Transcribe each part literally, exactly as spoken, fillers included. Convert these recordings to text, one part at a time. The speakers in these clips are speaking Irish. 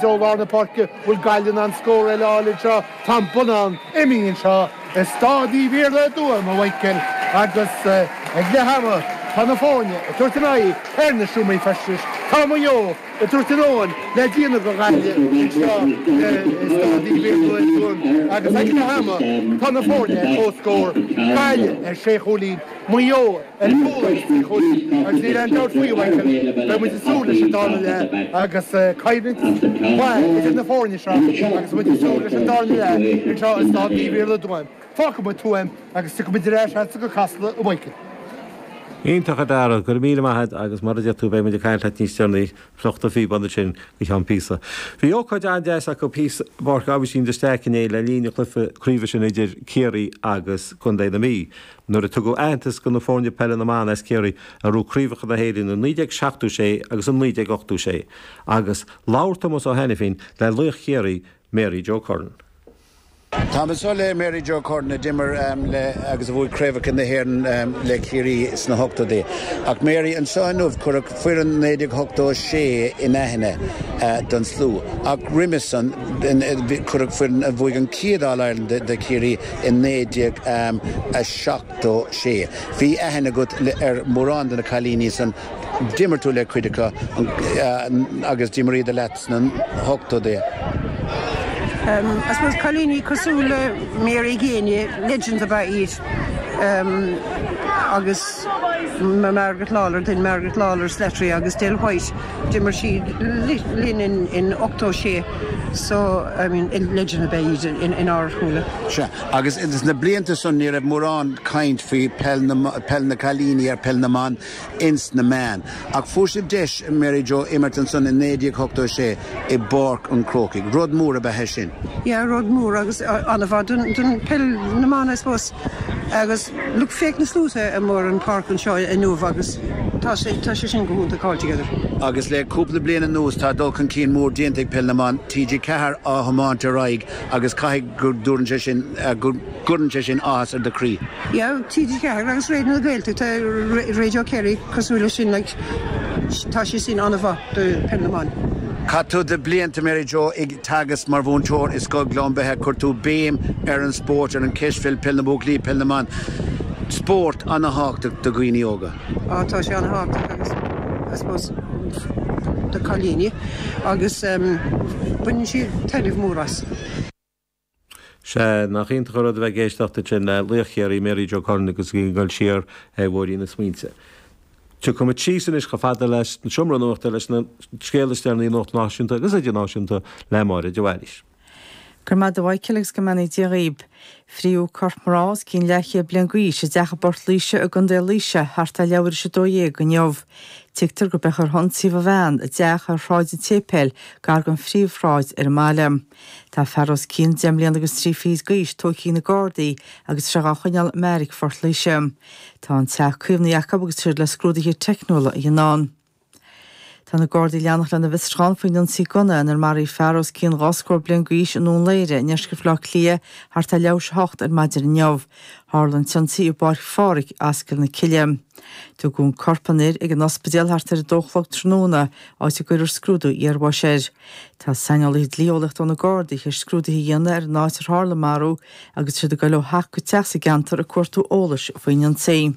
Ó lár na páirce, bhfuil Gaillimh in ann scór eile a fháil anseo? Tá an bonnán imithe anseo i Staid Uí Mhíorla i dTuaim, a Mhichael, agus ag leath ama tá na foirne ag tabhairt a n-aghaidh ar na seomraí feistis. Tá Maigh Eo ag tabhairt an fhóin le déanamh do Ghaillimh anseo i Staid Uí Mhíorla i dTuaim agus ag leath ama tá na foirne ar comhscór, Gaillimh ar sé chúilín, Maigh Eo ar chúl agus trí chúilín agus níl aon dabht faoi, a Mhichael, beidh muid ag súil leis an darna leath agus coimhlint mhaith idir na foirne seo agus muid ag súil leis an darna leath anseo i Staid Uí Mhíorla i dTuaim. Fágfaidh muid Tuaim agus tiocfaidh muid ar ais agatsa go Casla, a Mhichael. Iontach a Dhara, go raibh míle maith agat agus mar a deir tú beidh muid ag caint leat níos deireanaí, fliuch do phíob ansin go ceann píosa. Bhí ócáid an-deas acu thíos i bPáirc Aibhistín de Staic inné le linn an chluiche craoibhe sin idir Ciarraí agus Contae na Mí nuair a tugadh aitheantas do na foirne peile na mban as Ciarraí a ghnóthaigh craobhacha na hÉireann i naoi déag seachtó sé agus i naoi déag ochtó sé agus labhair Tomás Ó hAiniféin le laoch Chiarraí, Mary Joe Curran. Táim anseo le Mary Joe Curran a d'imir le agus a bhuaigh craobhacha na hÉireann le Ciarraí sna hochtóidí. Ach Mary, anseo inniu cuireadh foireann naoi déag ochtó sé in aithne don slua. Ach roimhe san cuireadh foireann a bhuaigh an chéad All-Ireland do Chiarraí i naoi déag a seachtó sé. Bhí aithne agat ar mhórán de na cailíní san. D'imir tú le cuid acu agus d'imríodar leat sna hochtóidí. I suppose cailíní cosúil le Mary Geaney, legends ab ea iad agus Margaret Lawlor, then Margaret Lawlor Slattery agus Del White, d'imir siad linn in in ochtó sé so I mean legend ab ea iad inár súile. Sea, agus sna blianta san ní raibh mórán caint faoi peil na peil na cailíní ar peil na mban ins na meáin. Ach fuair sibh deis, Mary Joe, imirt ansan i naoi déag ochtó sé i bPáirc an Chrócaigh. Rud mór ab ea é sin. Yeah, rud mór agus an-mhaith don don peil na mban I suppose. Agus look féach na sluaite amuigh ar an pháirc anseo inniu agus tá sé tá sé sin go hiontach altogether. Agus le cúpla bliain anuas tá dul chun cinn mór déanta ag peil na mban, T G ceathair á thiomáint ar aghaidh agus caithfidh go dtabharann sé sin go gcuireann sé sin áthas ar do chroí. Yeah, T G ceathair agus Raidió na Gaeltachta, Radio Kerry cosúil leis sin like tá sé sin an-mhaith do peil na mban. Chaith tú do blianta, Mary Joe, ag teagasc mar mhúinteoir i Scoil Ghleann Beithe. Chuir tú béim ar an spórt, ar an cispheil, peil na buachaillí, peil na mban. Spórt an-thábhachtach do dhaoine óga. Á tá sé an-thábhachtach agus I suppose do cailíní agus baineann siad taitneamh mór as. Sea, nach iontach an rud a bheith ag éisteacht ansin le laoch Chiarraí, Mary Joe Curran agus í ag dul siar ar bhóithrín na smaointe. Tiocfaidh muid síos anois chomh fada leis an seomra nuachta leis na scéalta is deireanaí nuacht náisiúnta agus idirnáisiúnta le Máire de Bhailís. Go raibh maith agat a Mhichael agus go mbeannaí Dia dhaoib. Fríodh corp mná os cionn leathchéad bliain d'aois i dteach i bPort Laoise i gContae Laoise thart ar leathuair tar éis a dó dhéag inniu. Tuigtear gurb é chuir hionsaí ba bhean i dteach ar Shráid an tSéipéil gar don phríomhshráid ar an mbaile. Tá fear os cionn deich mbliana agus trí fichid d'aois tógtha ag na Gardaí agus tá sé á choinneáil i mbeairic Phort Laoise. Tá an teach caomhnaithe acu agus siad le scrúduithe teicniúla a dhéanamh ann. Tá na Gardaí ag leanacht lena bhfiosrúchán faoin ionsaí gunna inar maraíodh fear os cionn dhá scór bliain d'aois i nDún Laoghaire i ndeisceart Bhaile Átha Cliath thart ar leathuair tar éis a hocht ar maidin inniu. Tharla an t-ionsaí i bPáirc Phádraig, Ascaill na Cille. Tugadh an corp an fhir ag an ospidéal thart ar a dó a chlog tráthnóna, áit a gcuirfear scrúdú iarbháis air. Tá saineolaithe dlí-eolaíochta ó na Gardaí théis scrúduithe a dhéanamh ar an áit ar tharla an marú agus siad ag dul ó theach go teach sa gceantar ag cuartú eolais faoin ionsaí.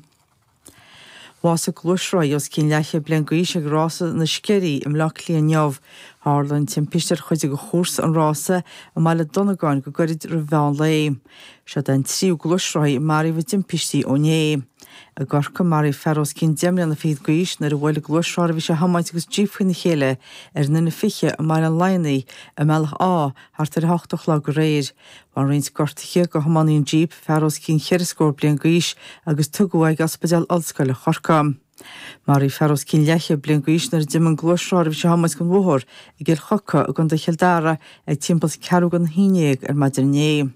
Bhásaigh gluaisrothaí os cionn leathchéad bliain d'aois ag rása na Sceirí i mBleá Cliath inniu. Tharla an timpiste ar chuid de chúrsa an rása i mBaile Dhonnagáin go gairid roimh mheán lae. Seo an tríú gluaisrothaí a maraíodh i dtimpistí ó inné. I gCorcaigh maraíodh fear os cionn deich mbliana fichead d'aois nuair a bhuail gluaisrothar a bhí sé a thiomáint agus jíp faoina chéile ar an N fiche i mBaile an Laigheanaigh i mBealach Átha thart ar a hocht a chlog aréir. Bhain roinnt gortuithe do thiománaí an jíp, fear os cionn cheithre scór bliain d'aois agus tugadh é ag Ospidéal Ollscoile Chorcaí. Maraíodh fear os cionn leathchéad bliain d'aois nuair a d'imigh an gluaisrothar a bhí sé a thiomáint den bhóthar i gCill Choca i gContae Chill Dara ag timpeall ceathrú don haon déag ar maidin inné.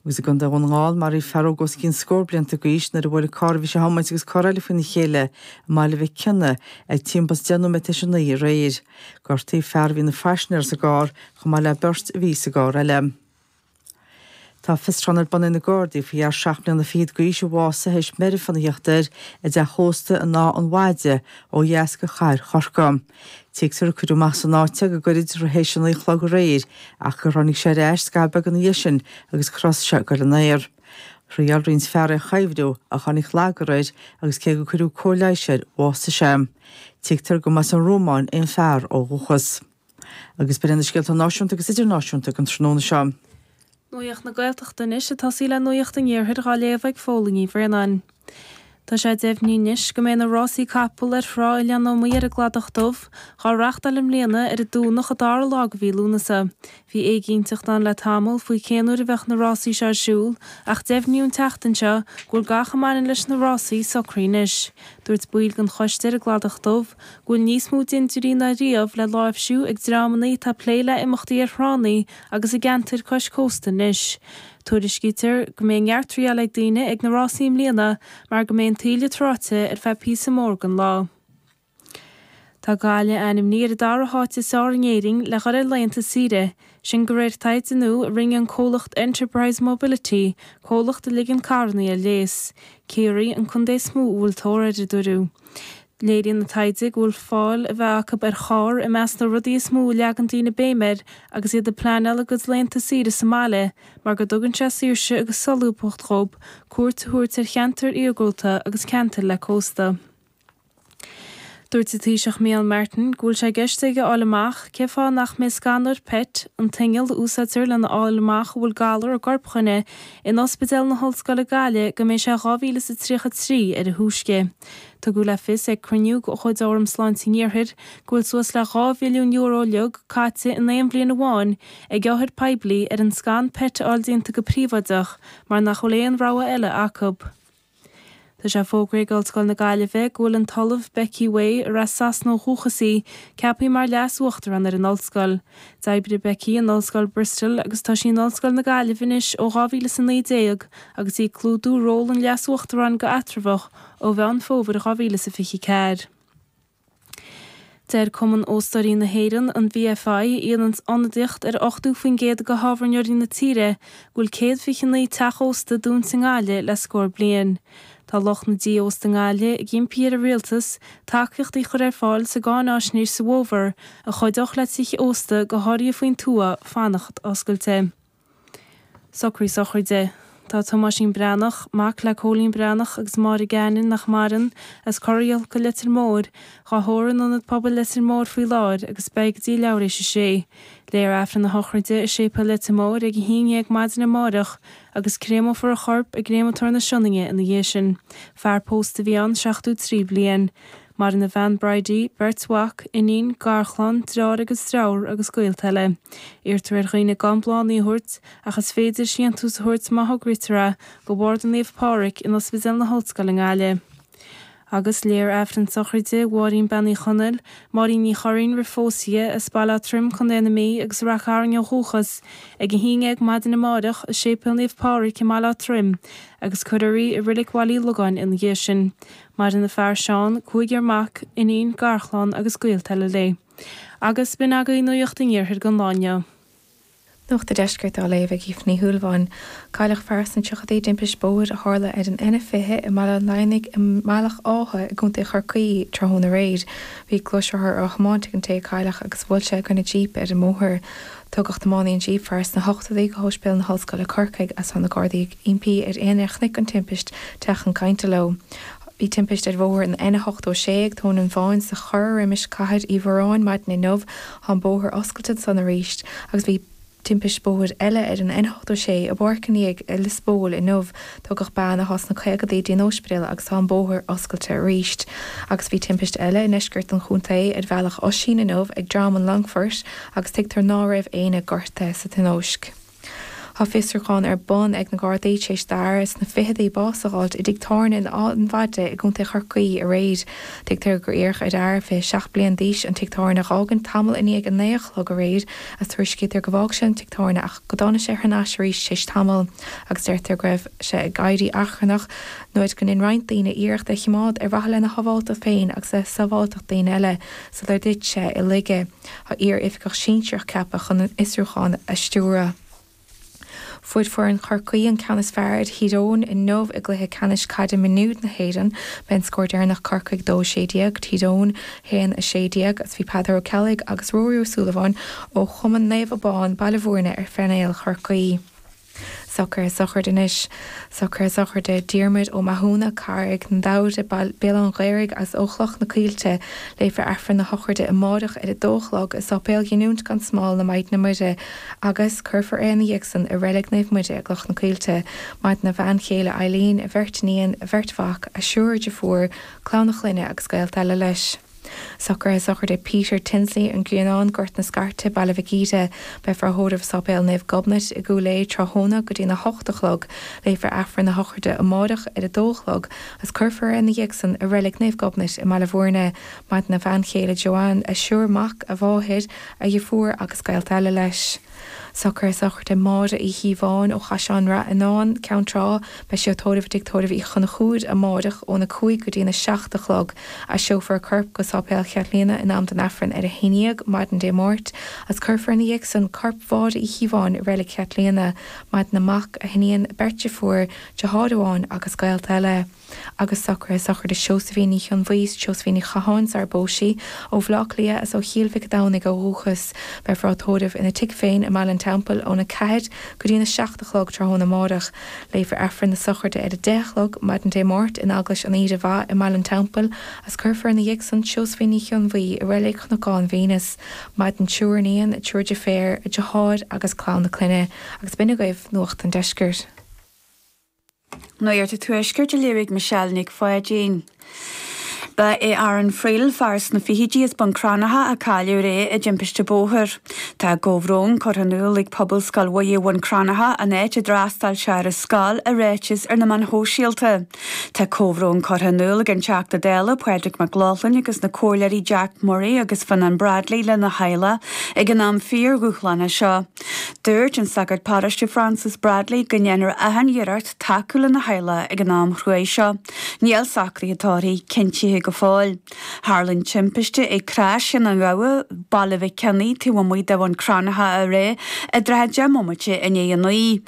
Agus i gContae Dhún na nGall maraíodh fear óg os cionn scór blianta d'aois nuair a bhuail carr a bhí sé a thiomáint agus carr eile faoina chéile i mBaile Mhic Cionnaith ag timpeall deich nóiméad tar éis a naoi aréir. Gortaíodh fear a bhí ina phaisinéir sa gcarr chomh maith le beirt a bhí sa gcarr eile. Tá fiosrúchán ar bun ag na Gardaí faoi fhear seacht mbliana fichead d'aois a bhásaigh théis meirfean a theacht air i dteach ósta in Áth an Mhaide ó dheas de chathair Chorcaí. Tuigtear gur cuireadh amach as an áit é go gairid théis a naoi a chlog aréir ach gur tháinig sé ar ais scaitheamh beag ina dhiaidh sin agus gur thosaigh sé ag goil in aer. Thriail roinnt fear é a chuibhriú ach tháinig lagar air agus cé gur cuireadh cóir leighis air bhásaigh sé. Tuigtear go mba as an Rómáin é an fear ó dhúchas. Agus b'in na scéalta náisiúnta agus idirnáisiúnta don tráthnóna seo. Nuacht na Gaeltachta anois ag tosaí le Nuacht an Iarthair á léamh ag Fódhla Ní Bhraonáin. Tá sé deimhnithe anois go mbeidh na rásaí capall ar thrá Oileán Ómaigh ar an gCladach Dubh dhá reáchtáil i mbliana ar an Domhnach an dara lá de mhí Lúnasa. Bhí éiginnteacht ann le tamall faoi cén uair a bheadh na rásaí seo ar siúl ach deimhníodh an tseachtain seo go bhfuil gach a mbaineann leis na rásaí socraithe anois. Dúirt baill den choiste ar an gCladach Dubh go bhfuil níos mó dintiúirí ná riamh le láimhsiú ag dreamanna atá ag plé le imeachtaí ar thránna agus i gceantair cois cósta anois. Tuairiscítear go mbeidh neart triail ag daoine ag na rásaí i mbliana mar go mbeidh an taoille tráite ar feadh píosa mór den lá. Tá Gaillimh ainmnithe ar an dara háit is fearr in Éirinn le dhul ar laethanta saoire, sin de réir taighde nua a rinne an comhlacht Enterprise Mobility, comhlacht a ligeann carranna ar léas. Ciarraí an contae is mó a bhfuil tóir air, a dúradh. Léiríonn an taighde go bhfuil fáil a bheith acu ar charr i measc na rudaí is mó a leagann daoine béim air agus iad ag pleanáil a gcuid laethanta saoire sa mbaile mar go dtugann sé saoirse agus solúbthacht dhóibh cuairt a thabhairt ar cheantair iargúlta agus ceantair le cósta. Dúirt an Taoiseach Micheál Martin go bhfuil sé i gceist aige a fháil amach cén fáth nach mbeidh scanóir PET, an t-inneall a úsáidtear lena fháil amach an bhfuil galar i gcorp dhuine, in Ospidéal na hOllscoile Gaillimh go mbeidh sé dhá mhíle is a tríocha trí ar a thúisce. Tugadh le fios ag cruinniú de chuid Fhóram Sláinte an Iarthair go bhfuil suas le dhá mhilliún euro uilig caite in aon bhliain amháin ag othair poiblí ar an scan PET a fháil déanta go príobháideach mar nach bhfuil aon rogha eile acu. Tá sé fógraithe ag Ollscoil na Gaillimhe go bhfuil an tOllamh Becky Way, ar as Sasana ó dhúchas í, ceaptha mar Leas-Uachtarán ar an ollscoil. D'oibrigh Becky in Ollscoil Bristol agus tá sí in Ollscoil na Gaillimhe anois ó dhá mhíle is a naoi déag agus í ag clúdú ról an Leas-Uachtaráin go eatramhach ó Mheán Fómhair dhá mhíle is a fiche ceathair. Deir Cumann Óstóirí na hÉireann, an V F I, a dhéanann ionadaíocht ar ochtó faoin gcéad de thábhairneoirí na tíre, go bhfuil céad fiche naoi teach ósta dúnta i nGaillimh le scór bliain. Tá lucht na dtithe ósta i nGaillimh ag impí ar an rialtas tacaíochtaí a chur ar fáil sa gcáináisnéis sa bhfómhar a chuideodh le tithe ósta go háirithe faoin tuath fanacht oscailte. Socraí sochraide. Tá Tomáisín Breathnach, mac le Cóilín Breathnach agus Máire Gannon nach maireann, as Corraíolca Leitir Móir, dhá thórramh in Ionad Pobail Leitir Móir faoi láthair agus beidh go dtí leathuair éis a sé. Léifear Aifreann na sochraide i Séipéal Leitir Móir ag a haon déag maidin amárach agus créamófar a chorp i gcréamatóir na Sionainne ina dhiaidh sin. Fear pósta a bhí ann seachtó trí bliain. Maireann a bhean Bridie, beirt mhac, iníon, garchlann, deartháir agus deirfiúr agus gaolta eile. Iarrtar ar dhaoine gan bláthanna a thabhairt ach is féidir síntiús a thabhairt má thograítear é go Barda Naomh Pádraig in Ospidéal na hOllscoile i nGaillimh. Agus léifear Aifreann sochraide Mháirín Bean Uí Chonaill, Máirín Ní Churraoin roimh phósadh as Baile Átha Troim Contae na Mí agus Rath Cairn ó dhúchas ag a haon déag maidin amárach i Séipéal Naomh Pádraig i mBaile Átha Troim agus cuirfear í i Reilig Bhaile Uí Logáin ina dhiaidh sin. Maireann a fear Seán, cúigear mac, iníon, garchlann agus gaolta eile léi. Agus b'in agaibh Nuacht an Iarthair don lá inniu. Nuacht an Deiscirt á léamh ag Aoife Ní Shúilleabháin. Cailleadh fear sna tríochaidí i dtimpiste bóthair a tharla ar an N fiche i mBaile an Laighneach i mBealach Átha i gContae Chorcaí tráthnóna aréir. Bhí gluaisrothar á thiomáint ag an té a cailleadh agus bhuail sé i gcoinne jíp ar an mbóthar. Tugadh tiománaí an jíp fear sna hochtóidí go hOspidéal na hOllscoile Corcaigh agus tá na Gardaí ag impí ar éinne a chonaic an timpist teacht chun cainte leo. Bhí timpist ar bhóthar an N ochtó sé ag Tóin an Bháin sa Chorr roimis Cathair Uí Mhóráin maidin inniu tá an bóthar oscailte ansan arís agus bhí timpist bóthair eile ar an N ochtó sé i bPáirc an Fhiaigh i Lios Póil inniu tugadh bean atá sna caogaidí go dtí an ospidéal agus tá an bóthar oscailte arís. Agus bhí timpist eile i ndeisceart an chontae ar Bhealach Oisín inniu ag Droim an Longfoirt agus tuigtear ná raibh éinne gortaithe sa tionóisc. Tá fiosrúchán ar bun ag na Gardaí tar éis d'fhear sna fichidí bás a fháilt i dtigh tábhairne in Áth an Mhaide i gContae Chorcaí aréir. Tuigtear gur iarradh ar fhear fiche seacht bliain d'aois an tigh tábhairne a fhágaint tamall i ndiaidh a naoi a chlog aréir agus tuairiscítear go bhfág sé an tigh tábhairne ach go dtáinig sé thar n-ais arís tar éis tamaill agus deirtear go raibh sé ag éirí achrannach nuair go ndein roinnt daoine iarracht é a choimeád ar mhaithe lena shábháilteacht féin agus le sábháilteacht daoine eile sular thit sé i laige. Tá iar-oifigeach sinsearach ceaptha chun an fiosrúchán a stiúradh. Fuair foireann Chorcaí an ceann is fearr ar Thír Eoghain inniu i gcluiche ceannais caide mionúir na hÉireann. B'é an scór deireanach Corcaigh dó a sé déag, Tír Eoghain haon a sé déag agus bhí Peadar Ó Ceallaigh agus Ruairí Ó Súilleabháin ó Chumann Naomh Abán, Baile Bhúirne ar phainéal Chorcaí. Socruithe sochraide anois. Socruithe sochraide Diarmuid Ó Mathúna, Carraig na Damhra, Béal an Ghaorthaidh as ó Chloch na Coillte. Léifear Aifreann na sochraide amárach ar a dó a chlog i Sáipéal Ghiniúint gan Smál na Maighdine Muire agus cuirfear é ina dhiaidh san i Reilig Naomh Muire i gCloch na Coillte. Maireann a bhean chéile Eileen, a bheirt iníon, a bheirt mhac, a thriúr deirfiúr, clann a chlainne agus gaolta eile leis. Socruithe sochraide Peter Tinsley, An Grianán, Gort na Scairte, Baile Mhic Íde. Beifear á thórramh i Sáipéal Naomh Gobnait i gCúil Aodha tráthnóna go dtí'n a hocht a chlog. Léifear Aifreann na sochraide amárach ar a dó a chlog agus cuirfear é ina dhiaidh san i Reilig Naomh Gobnait i mBaile Bhúirne. Maireann a bhean chéile Joanne, a thriúr mac, a mháthair, a dheirfiúr agus gaolta eile leis. Socruithe sochraide Máire Uí Chíobháin ó Chaisleán Rath Fhionáin, Ceann Trá, beidh sí á tórramh i dTigh Tórraimh Uí Chonchúir amárach óna cúig go dtí'n a seacht a chlog. Aistreofar a corp go Sáipéal Chaitlíona in am don Aifreann ar a haon dhéag maidin Dé Máirt agus cuirfear ina dhiaidh san corp Mháire Uí Chíobháin i Reilig Chaitlíona. Maireann a mac, a hiníon, beirt deirfiúr, deartháir amháin agus gaolta eile. Agus socruithe sochraide Seosaimhín Ní Chionbhuí, Seosaimhín Ní Chatháin sar phós sí, ó Bhaile Átha Cliath is ó Chill Mhic Domhnaigh ó dhúchas. Beifear á tórramh ina tigh féin i mBaile an Teampaill óna ceathair go dtí'n a seacht a chlog tráthnóna amárach. Léifear Aifreann na sochraide ar a deich a chlog maidin Dé Máirt in Eaglais an Aoire Mhaith i mBaile an Teampaill agus cuirfear ina dhiaidh san Seosaimhín Ní Chionbhuí i Reilig Chnocán Mhéanas. Maireann triúr iníon, triúr deirféar, a deartháir agus clann a clainne. Agus b'in agaibh Nuacht an Deiscirt. Nuacht an Tuaiscirt á léamh ag Michelle Nic Pháidín. Ba é Aaron Friel fear sna fichidí as Bun Cranncha a cailleadh aréir i dtimpiste bóthair. Tá comhbhrón curtha in iúl ag Pobalscoil Mhuire Bhun Cranncha an áit a d'fhreastail sé ar an scoil i ráiteas ar na meáin shóisialta. Tá comhbhrón curtha in iúl ag an Teachta Dála Pádraig Mac Lochlainn agus na Comhairleoirí Jack Murray agus Fionnán Bradley lena theaghlach ag an am fíordhúshlánach seo. Dúirt an sagart paróiste Francis Bradley go ndéanfar achan iarracht tacú lena theaghlach ag an am chruaidh seo. Níl socruithe tórraimh cinntithe go fóill. Tharla an timpiste ag Crois Chionn an Ghabha, Baile Mhic Cionnaith taobh amuigh de Bhun Cranncha aréir i dtrátha deich mbomaite i ndiaidh a naoi.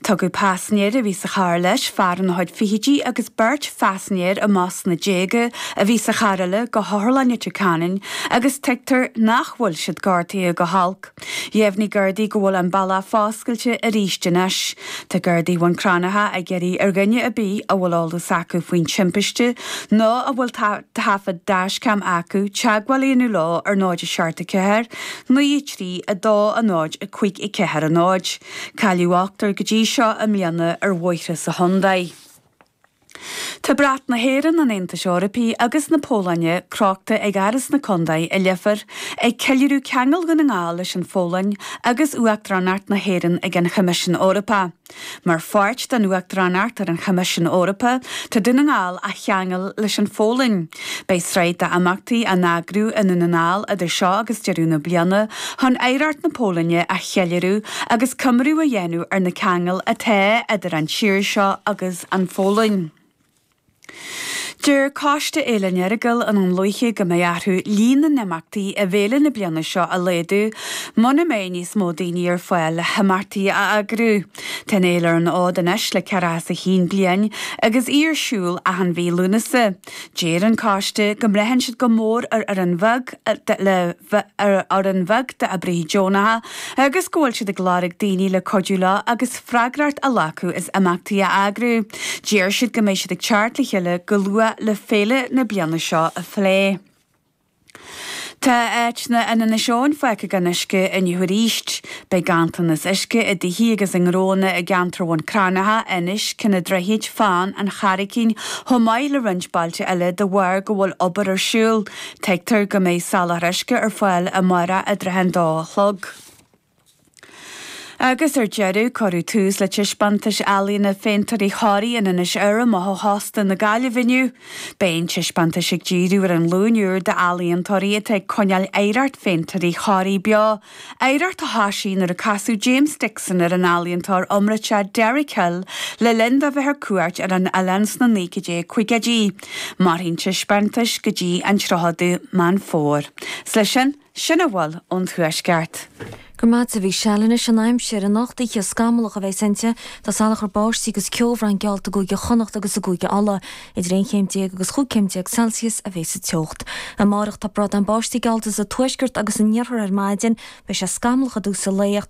Tugadh paisinéir a bhí sa charr leis, fear ina chuid fichidí agus beirt phaisinéir amach sna déaga a bhí sa charr eile go hOtharlann Leitir Ceanainn agus tuigtear nach bhfuil siad gortaithe go holc. Dheimhnigh Gardaí go bhfuil an bealach foscailte arís anois. Tá Gardaí Bhun Cranncha ag iarraidh ar dhuine ar bith a bhfuil eolas acu faoin timpiste nó a bhfuil taifead dashcam acu teagmháil a dhéanamh leo ar náid a seacht a ceathair, naoi a trí, a dó a náid, a cúig a ceathair a náid. Cailleadh ochtar go dtí seo i mbliana ar bhóithre sa chontae. Tá brat na hÉireann, an Aontais Eorpaigh agus na Polainne crochta ag Áras na Contae i Leifear ag ceiliúradh ceangal Dhún na nGall leis an Pholainn agus Uachtaránacht na hÉireann ag an Choimisiún Eorpach. Mar pháirt den Uachtaránacht ar an Choimisiún Eorpach, tá Dún na nGall á cheangal leis an Pholainn. Beidh sraith d'imeachtaí á n-eagrú i nDún na nGall idir seo agus deireadh na bliana chun oidhreacht na Polainne a cheiliúradh agus coimriú a dhéanamh ar na ceangail atá idir an tír seo agus an Pholainn. Deir Coiste Fhéile an Earagail i nDún Lúiche go mbeidh orthu líon na n-imeachtaí i bhféile na bliana seo a laghdú muna mbeidh níos mó daoine ar fáil le himeachtaí a eagrú. Tá an fhéile ar an fhód anois le ceathracha is a haon bliain agus í ar siúl achan mhí Lúnasa. Deir an coiste go mbraitheann siad go mór ar fhoireann bheag le ar fhoireann bheag d'oibrithe deonacha agus go bhfuil siad ag lorg daoine le cuidiú leo agus freagracht a ghlacadh as imeachtaí a eagrú. Deir siad go mbeidh siad ag teacht le chéile go luath le féile na bliana seo a phlé. Tá áiteanna in Inis Eoghain fágtha gan uisce inniu arís. Beidh ganntanas uisce i dtithe agus i ngnóanna i gceantar Bhun Cranncha, Inis, Cionn an Droichid, Fán, An Charraigín, chomh maith le roinnt bailte eile de bharr go bhfuil obair ar siúl. Tuigtear go mbeidh soláthar uisce ar fáil amárach i dtrátha an dó a chlog. Agus ar deireadh, cuireadh tús le taispeántas ealaíne Phéintéirí Thoraí in Inis Oirr amuigh ó Chósta na Gaillimhe inniu. Beidh an taispeántas ag díriú ar an nglúin úr d'ealaíontóirí atá ag coinneáil oidhreacht Phéintéirí Thoraí beo, oidhreacht a thosaigh nuair a casadh James Dixon ar an ealaíontóir iomráiteach Derek Hill le linn dó bheith ar cuairt ar an oileán sna naoi déag caogaidí. Mairfidh an taispeántas go dtí an tríochadú Meán Fómhair. 'S leis sin, sin a bhfuil ón Tuaisceart. Go Go maith a Mhichelle anois an aimsir anocht oíche scamallach a bheas inti, tá salachar báistí agus ceobhrán geallta i gCúige Chonnacht agus i gCúige Uladh. Idir aon chéim déag agus chúig chéim déag Celsius a bheas sa teocht. Amárach tá bradán báistí geallta sa tuaisceart agus san iarthar ar maidin, beidh sé scamallach i dtús an lae ach